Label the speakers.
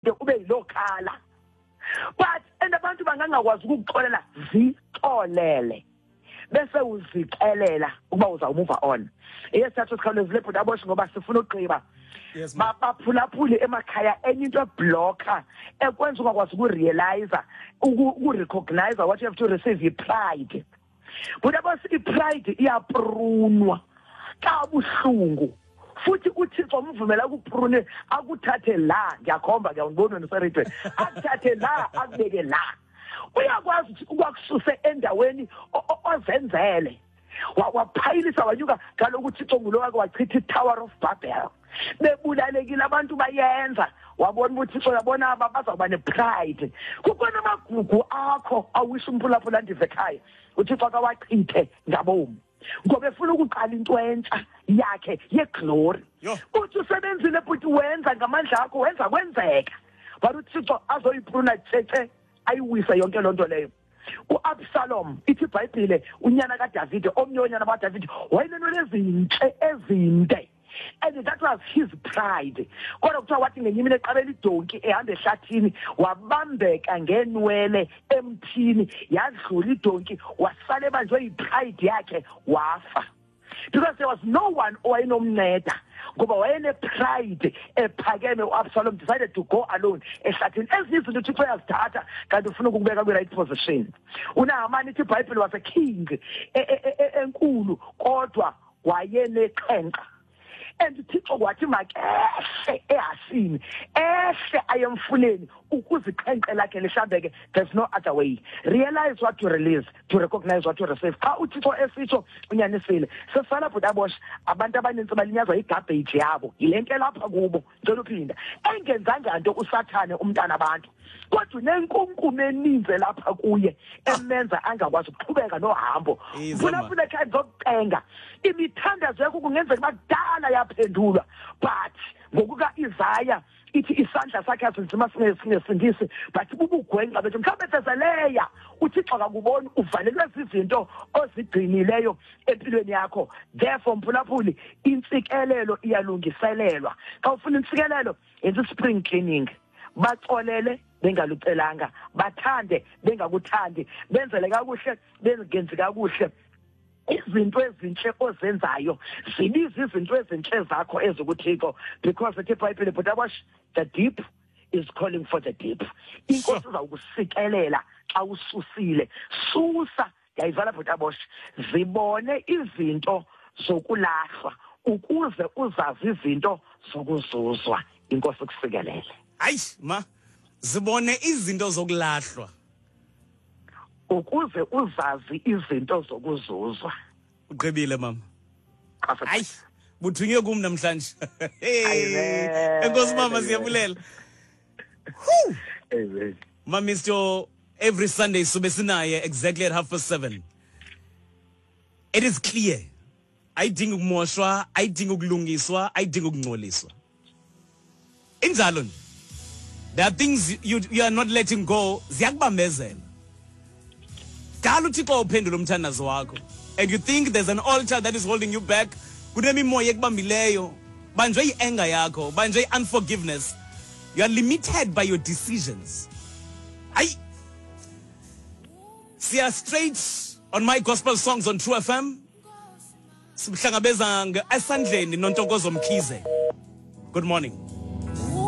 Speaker 1: Ube yiloo khala, but and abantu bangangakwazi ukukuxolela, zixolele bese uzixelela ukuba uzawumuva on. Eyesithathu sikhawulezile, bhuti Aboshi, ngoba sifuna ugqiba.
Speaker 2: Yes, ma'am.
Speaker 1: Baphulaphule emakhaya, enye into eblocka ekwenza ungakwazi ukurealize, ukurecognize what you have to receive, yi-pride, bhuti Aboshi. I-pride iyaprunwa kabuhlungu, futhi uThixo umvumela akuprune, akuthathe la. Ngiyakhomba ke, awundiboni wena useredweni. Akuthathe la, akubeke la. Uyakwazi ukuthi ukwakususe endaweni ozenzele, waphayilisa, wanyuka. Kaloku uThixo ngulo wake wachitha i-Tower of Babel, bebulalekile abantu bayenza. Wabona uba uThixo, uyabona, aba bazawuba nepride. Kukhona amagugu akho awisha umphulaphula andive ekhaya, uThixo akawachithe ngabomi ngoba efuna ukuqala into entsha yakhe yeglory. Uthi usebenzile, bhuti, wenza ngamandla akho, wenza kwenzeka, but uThixo azoyipruna tshetshe, ayiwise yonke loo nto leyo. UAbsalom, ithi iBhayibhile, unyana kaDavide, omnye wonyana bakaDavide, wayenenwele ezintle ezinde, and that was his pride. Kodwa kuthiwa wathi ngenye imini eqabela idonki, ehamba ehlathini, wabambeka ngeenwele emthini, yadlula idonki, wasala ebanjwe yipride yakhe, wafa, because there was no one owayenomnceda ngoba wayenepride ephakeme. U-Absalom decided to go alone ehlathini. Ezinye izinto uThixo uyazithatha kanti ufuna ukukubeka kwi-right position. UNahamani, ithi iBhayibhile, was a king enkulu, kodwa wayeneqhenqa, and uThixo wathi makehle ehasini, ehle ayemfuleni ukuze iqhenqe lakhe lihlambeke. There's no other way. Realize what to release to recognize what to receive. Xa uThixo esitsho, unyanisile. Sesala, bhuti Abosh, abantu abanintsi balinyazwa yigarbage yabo, yile nto elapha kubo. Ndicela uphinda, engenzanga nto uSathane umntana abantu, kodwa unenkunkuma eninzi elapha kuye emenza angakwazi ukuqhubeka nohambo.
Speaker 2: Ize,
Speaker 1: Funa
Speaker 2: ma.
Speaker 1: funa ekhaya, ndizokucenga. Imithandazo yakho kungenzeka uba kudala yaphendulwa, but ngokuka-Isaya ithi isandla sakhe asinzima singesindisi, but bubugwenxa bethu. Mhlawumbe thezeleya uThixo akakuboni, uvalelwe zizinto ozigcinileyo empilweni yakho. Therefore, mphulaphuli, intsikelelo iyalungiselelwa. Xa ufuna intsikelelo, yenza i-spring cleaning. Baxolele bengalucelanga, bathande bengakuthandi, benzele kakuhle bengenzi kakuhle. Izinto ezintle ozenzayo zibiza izinto ezintle zakho ezikuThixo, because ethi iBhayibhile, but Abash, the deep is calling for the deep. Inkosi izawukusikelela xa ususile. Susa. Yayivala, bhuti Abosh. Zibone izinto zokulahlwa ukuze uzazi izinto zokuzuzwa. Inkosi kusikelele.
Speaker 2: Hayi ma, zibone izinto zokulahlwa
Speaker 1: ukuze uzazi izinto zokuzuzwa.
Speaker 2: Ugqibile, mama. Hayi, buthunywe kum namhlanje.
Speaker 1: Amen.
Speaker 2: Enkosi, mama, siyabulela.
Speaker 1: Amen.
Speaker 2: Ma Mr, every Sunday sube sinaye exactly at 7:30. It is clear, ayidingi ukumoshwa, ayidingi ukulungiswa, ayidingi ukungcoliswa, injalo nje. There are things you are not letting go, ziyakubambezela. Dala uThixo uphendula umthandazo wakho and you think there's an altar that is holding you back. Kunemimoya ekubambileyo, banjwe yi-anger yakho, banjwe yi-unforgiveness. You are limited by your decisions. Ayi, siya straight on My Gospel Songs on True FM. Sihlangabeza esandleni noNtokozo Mkhize. Good morning.